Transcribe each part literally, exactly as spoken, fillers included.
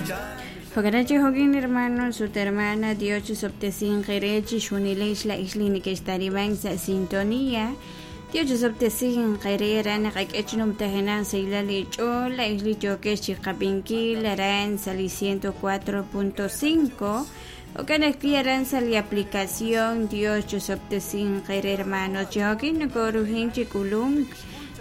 Jo'kan chi jo'kin hermanos ut hermana Dios chixob'tesinq eere chixjunilex la'ix li nekextariban sa' sintonía. Dios chixob'tesinq eere aran naqak'e chinumtajenaq sa' li ch'ool la'ix li yookex chiqab'inkil aran sa' li ciento cuatro punto cinco. Jo'kan ajwi' aran sa' li aplicación Dios chixob'tesinq eere hermanos. Chi jo'kin nokorujin chi k'ulunk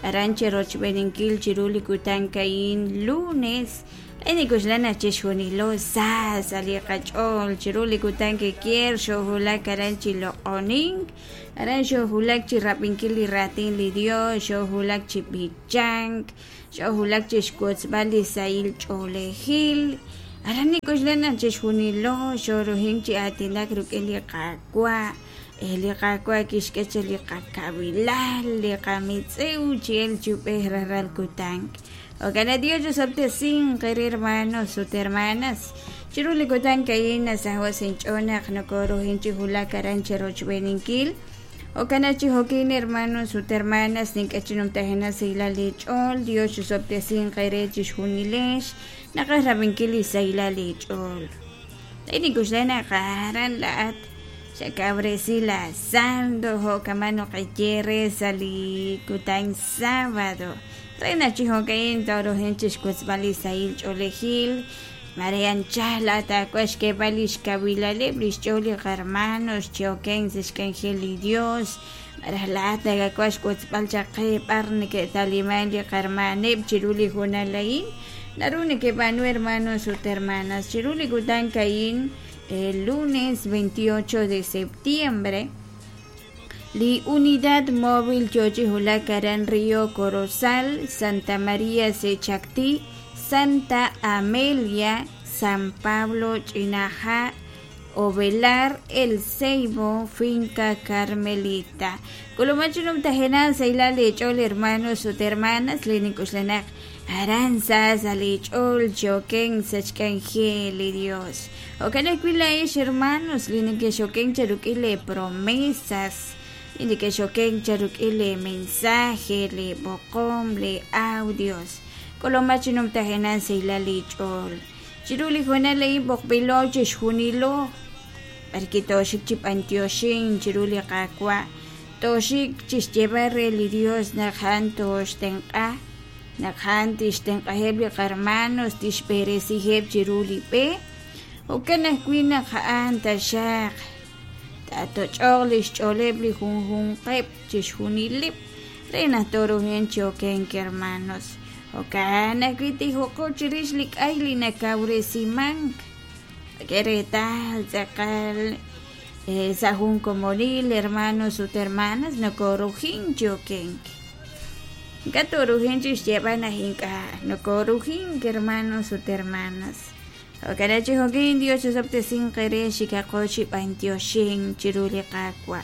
aran cherochb'eninkil chiru li kutan ka'in lunes. Enikuxlana chixjunilo sa sa' li qach'ool chiru li kutan kekier xojulak aran chi loq'onink aran xojulak chi rab'inkil li raatin li Dios xojulak chi b'ichank xojulak chi xwotzb'al li sahil ch'oolejil aran nikuxlana chixjunilo xorujin chi aatinak rik'in li Qaawa' li Qaawa' kixk'e li qakabilal li qamitz'ew chiel chub'ej raral kutan. Ojalá Dios chixob'tesinq eere hermanos ut hermanas. Chiru li kutan ka'in nasaho' sinch'oonaq nokorujin chi julak aran cherochb'eninkil. Jo'kan chi jo'kin hermanos ut hermanas nink'e chinumtajenaq sa' li ch'ool Dios chixob'tesinq eere chixjunilex naqaj rab'inkil li sahilal li ch'ool. Enikuxlanaq aran la'at xakabresi la saldo jo'kaman noqaye sa' li kutan sábado. Reina chijokain torojen chixkutzb'al li sahil ch'oolejil Marian chala takuax keb'al xkawilaleb' li xch'ool li qarmanos chioken sa' xk'anjel li Dios maraj laat nakakuax kutzb'al chaqe b'ar neke'taliman li qarmaneb' chiru li junalain naru nekeb'anu hermanos ut hermanas chiru li kutan ka'in el lunes veintiocho de septiembre. Li unidad móvil Yochi Julak aran Río Corozal, Santa María Sechactí, Santa Amelia, San Pablo Chinaja, Ovelar, El Ceibo, Finca Carmelita. Colomachinum tajena, Seila Lechol, hermanos ut hermanas, Lenikuxlenak, Aranza, Salichol, Choken, Sachkanjel, Dios. Okanekuilaish, hermanos, Linikeshoken, Cherukile, promesas. Indike xoken charuk'il mensaje le boqom le audios kolomachinum tajenan seilali ch'ol chiru li junal lei boqb'ilo chixjunilo barki toxik chip'antioshin chiru li qaawa' toxik chixyeb'ar re li Dios naq a'an toxtenq'a naq a'an tixtenq'ajeb' li qarmanos tixb'eresijeb' chiru li b'e jo'kan ajwi' naq a'an taxaq tatoch'oq li xch'ooleb' li junjunqeb' chixjunileb' re naq torujen choken hermanos jo'kan ajwi' tijoqo chirix li k'ay li nakawresimank keretal tz'aqal sa' jun komonil hermanos ut hermanas nokorujin chokenk ink'a' torujin chixyeb'al naq ink'a' nokorujin hermanos ut hermanas. Jo'kan chi jo'kin Dios chixob'tesinq eere xikaqo chib'antioshin chiru li Qaawa'.